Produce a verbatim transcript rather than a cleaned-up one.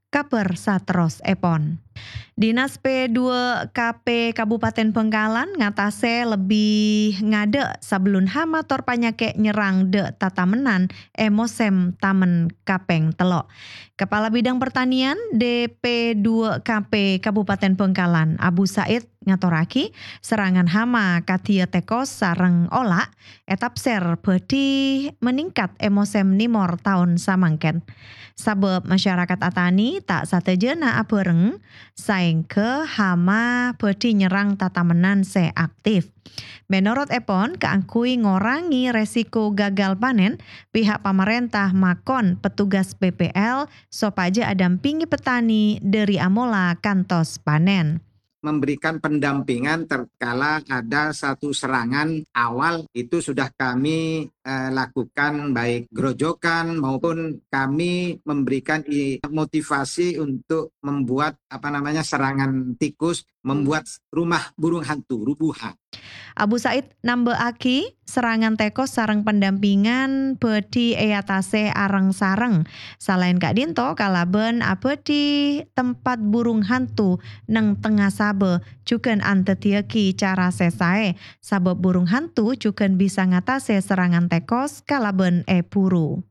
Kabhâr saterrossèpon. Dinas P dua K P Kabupaten Bangkalan ngatasè lebbi ngadâ' sabellun hama tor panyakè' nyerrang dâ' tatamennan è mosèm tamen kapèng tello'. Kepala Bidang Pertanian D P dua K P Kabupaten Bangkalan, Abu Said, ngatorraghi, serrangan hama kadhiyâ tèkos sareng ola' ètapsèr bhâdhi meningkat è mosèm nèmor taon samangkèn. Sabâb masyarakat atanè ta' sadhâjâna abhâreng, saèngghâ hama bhâdhi nyerrang tatamennan sè aktif. Mènorot èpon, kaangghuy ngorangè resiko gagal panen, pihak pamarènta makon petugas P P L sopajâ adampingè petani dâri amola kantos panen. Memberikan pendampingan tatkala ada satu serangan awal, itu sudah kami, eh, lakukan, baik gerojokan maupun kami memberikan i-, motivasi untuk membuat, apa namanya, serangan tikus, membuat rumah burung hantu, rubuhan. Abu Said nambâ'âghi, serrangan tèkos sareng pendampingan bhâdhi èatasè areng-sareng. Salaèn ka'dinto, kalabân abhâdhi tempat burung hantu neng tengnga sabâ jhughân andhâddhiyâghi cara sè saè, sabâb burung hantu jhughân bisa ngatasè serrangan tèkos kalabân èburu.